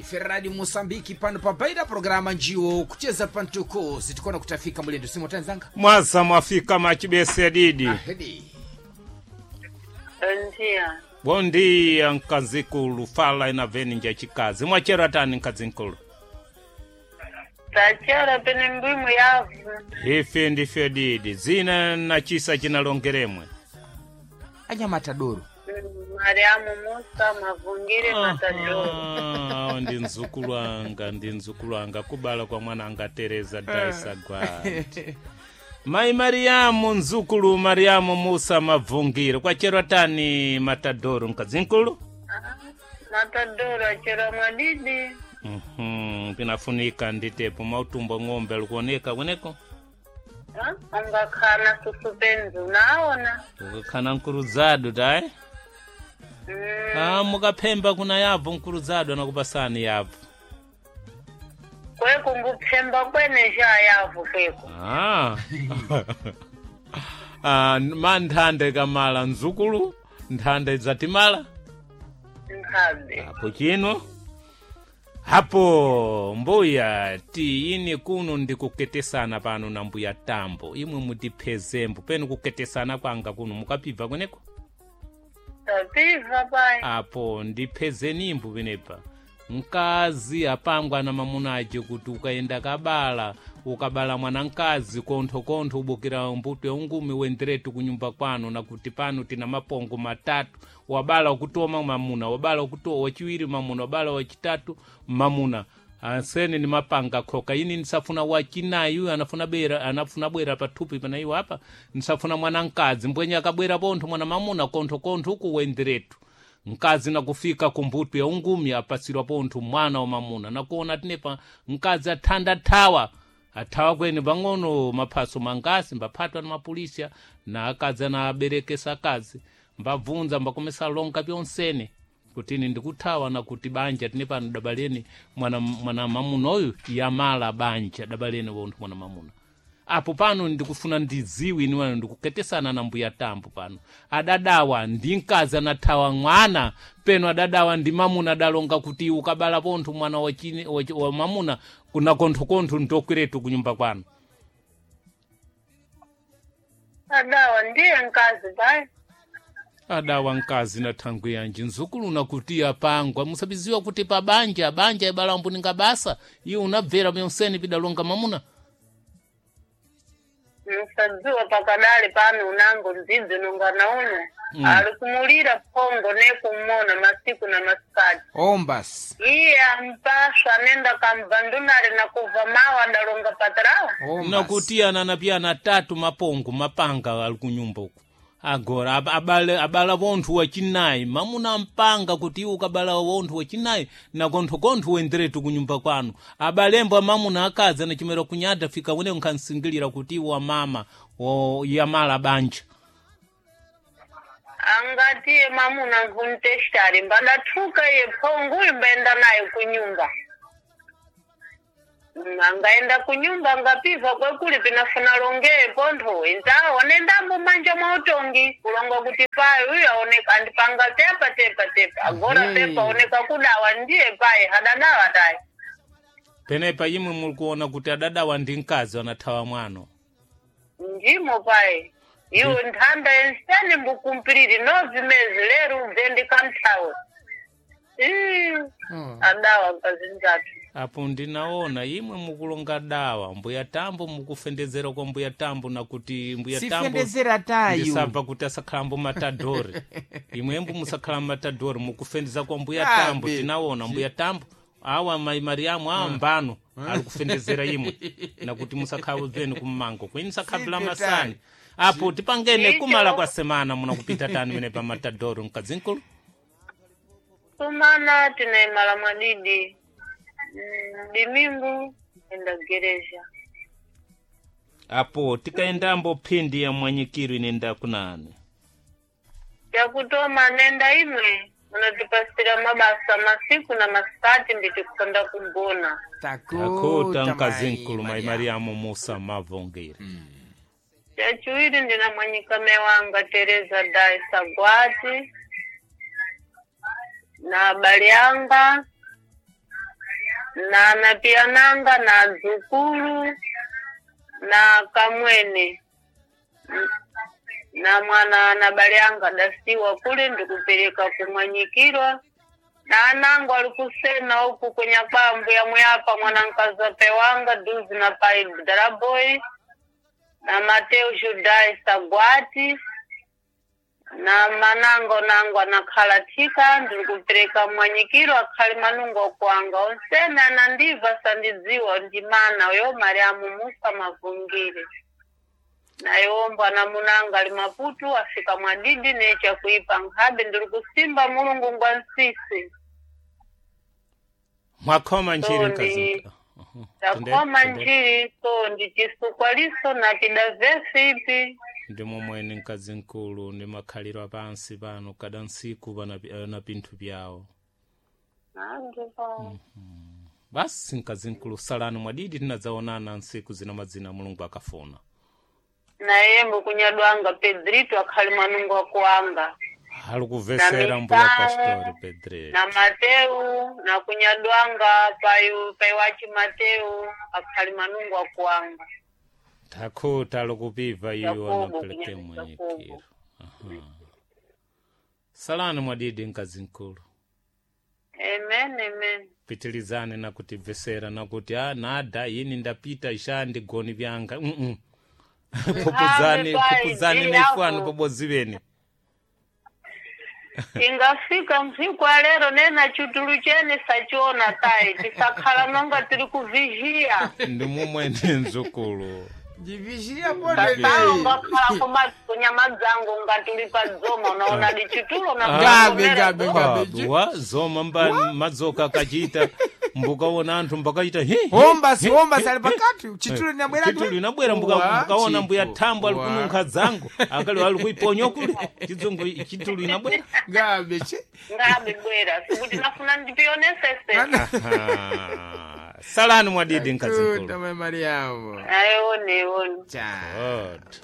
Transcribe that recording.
Ife Radio Mosambiki pano pabaida programa njiwo kucheza pantuko sitikona kutafika mulendo simo tanzanga. Mwaza mwafika machibese didi. Ahedi. Bom dia. Bom dia nkazikulu fala inaveni nja chikazi. Mwachera tani nkazinkulu. Tachera pene mbwimu yavu. Ife ndife didi. Zina na chisa chinalongeremwe. Anyamatadoro. Mariamu Musa Mavungire Matadoro. Ah, ndi mzukulu anga ndi mzukulu anga kubala kwa mwana anga Tereza Daisa Gwati. Mai Mariamu mzukulu Mariamu Musa Mavungire kwacherwa tani Matadoro nkazinkulu. Matadoro achera mwadidi. Mhm, pinafunika nditepo mautumbo ng'ombe alikuoneka kweneko Ha? Ungakhana susupenzi unaona. ukakhana nkuruzadu tayi. Mm. Ah, mukaphemba kuna yabvo nkuruzadu anakupasani yabvo. Kweko nguphemba kwene ja yavu kweko. Ah. Ah, ma nthanda ikamala mzukulu nthanda idzatimala Nkhabe. apo chino hapo mbuya ti ini kuno ndikuketesana pano na mbuya tambo imwe mutiphezembo penu kuketesana kwanga kuno mukapibva kweneko. Tapiva pai. Apo ndiphezenimbo penepa mkazi apangwa na mamuna aje kuti ukaenda kabala ukabala mwana mkazi konthokontho ubukira mbuto ya ungumi wenderetu kunyumba kwanu na kuti pano tina mapongo matatu wabala wakutoma mamuna wabala wakutoa wachiwiri mamuna wabala wachitatu mamuna ansene ni mapanga khoka ini nisafuna wachinayi uyu anafuna bera anafuna bwera pathupi pana iwo apa nisafuna mwana mkazi mbwenye akabwera pontho mwana mamuna konthokontho uku wenderetu mkazi nakufika kumbuto ya ungumi apasirwa pontho mwana wa mamuna nakuona tinepa mkazi athanda thawa athawa kwene pang'ono maphaso mangasi mbaphatwa na mapolisia na akazi anaberekesa akazi mbabvunza mbakomesa longa pyonsene kuti ine ndikuthawa na kuti banja tine pano dabaleni mwana, mwana mamuna uyu yamala banja dabaleni wonthu mwana mamuna apo pano ndikufuna ndidziwe ine wano ndikuketesana na mbuya tambo pano adadawa ndi mkazi anathawa mwana peno adadawa ndi mamuna adalonga kuti ukabala pontho mwana wa mamuna kuna konthokontho ndokweretu kunyumba kwanu. Adawa ndiye nkazi pai. Adawa mkazi na thangwi yanji nzukulu nakuti apangwa musabiziwa kuti pa banja banja ibalambo ningabasa iwe unabvera myonseni pidalonga mamuna. Musadziwa pakadali pano unango ndzidzi nongana uno. Ali kumulira phongo nekumona masiku na masikati. Ombas. Iye ampaswa anenda kamva ndunali na kuva mawa adalonga patrawa. Ombas. Nakuti ananapiyana tatu mapongo mapanga ali kunyumba uku agora abala wonthu wachinayi mamuna mpanga kuti iwe ukabala wonthu wachinayi na konthokontho wenderetu kunyumba kwanu abalembo amamuna akazi anachimera kunyada fika wene nkhansingilira kuti iwe wamama yamala banja. Angatiye mamuna nkuntestari mbadathuka iye phongo uyu mbaenda naye kunyumba. Angaenda kunyumba angapiva kwekuli pinafuna longeye pontho inzawo nendambo manja mwa utongi kulonga kuti payi uyu aoneka andipanga tepa tepa tepa agora Mhm. tepa oneka kudawa ndiye payi hadadawa tayi. Penepa imwe mulikuona kuti adadawa ndi mkazi anathawa mwano. Ndimo pai iwe nthanda enseni mbukumpiriri nozimezi lero ubve kamthawe. Adawa nkazinzatu. Apo ndinaona imwe mukulonga dawa mbuya tambo mukufendezera kwa mbuya tambo na kuti mbuya tambo Sifendezera tayo. ndisabva kuti asakhalambo matadori imwembo musakhala matadori mukufendeza kwa mbuya tambo. Abe. Tinaona mbuya tambo awa mai mariamu awa mbano ali kufendezera imwe nakuti musakhala bveni kummango kwini musakhabila Sivyo masani tayo. apo tipangene Icho. kumala kwa semana munakupita tani mene pa matadoro mkazinkulu. Sumana tinaimala mwadidi. Dimingu enda gereja. Apo tikaendambo phindi ya mwanyikiro inenda kunani. Yakutoma nenda imwe munatipasira mabasa masiku na masikati nditikusanda kugona. Akota Takuta mkazinkulu mai Mariamu. Mariamu Musa Mavongere. Chachiwiri ndina mwanyikame wanga Tereza Daisa Gwati na abale anga. Na napiananga na zukulu na kamwene na mwana na bale anga dasiwa kule ndikupereka kumwanyikirwa na anangu alikusena huku kwenye kwambu ya muyapa mwanankaza pewanga duzi na pai daraboi na Mateo Judai Sagwati na manango nango anakhalathika ndikupereka mwanyikiro akhali manungo kwanga onsene anandiva sandidziwa ndimana yo Mariamu Musa Mavungire naye mbwana munanga ali Maputu afika mwadidi necha kuipa nkhabe ndiri kusimba mulungu ngwa nsisi Mwakhoma njiri So mkazi ndi- mkulu. takhoma Tende- njiri so ndi chisukwaliso na pida ipi Ndi momwene mkazi mkulu ndi makhaliro apansi pano kada ntsiku pana na pinthu pyawo. Basi mkazi mkulu salani mwadidi tinadzaonana ntsiku zina madzina mulungu akafuna. Naye kunyadwanga Pedrito akhali mwanungu wakuanga Ali kuvesera Na mbuya Misau, pastori Pedrito. Na Mateu na kunyadwanga payu paiwachi Mateu akhali manungu akuanga. Takhuta alikupiva iwo Yakobo, anapeleke kunyadwa mwanyikiro. Yakobo. Aha. Salani mwadidi mkazi mkulu. Amen, amen. Pitilizane nakutivesera nakuti a nada yini ndapita isha ndigoni vyanga Pupuzani Ame pai, pupuzani ndiri neifwanu apo. pobodzi vene. Ingafika msiku wa lero nena chutulu chene sachiona tai tisakhala nonga tiri kuvizhiya. Ndi mumwene mzukulu. Ndivizhiya Tatalo pondedei. ngakhala kuma kunyama dzangu ngatuli pa dzoma unaona dichitulo na Gabe, gabe, gabe. Wa zoma mba madzoka akachita mbukaona anthu mbakachita hi hi, Hombasi, hi, hombasi hi, ali pakati. Chitulo linabwera chitulo linabwera mbukaona mbuya thambo ali kununkha dzango akali ali kuiponya kule chidzungu chitulo inabwera. Gabe che. Ngabe bwera sikuti nafuna ndipionesese. Aha. Salani mwadidi mkazi Tuta mkulu. mai Mariamu. Ayione, ione. Cha. God.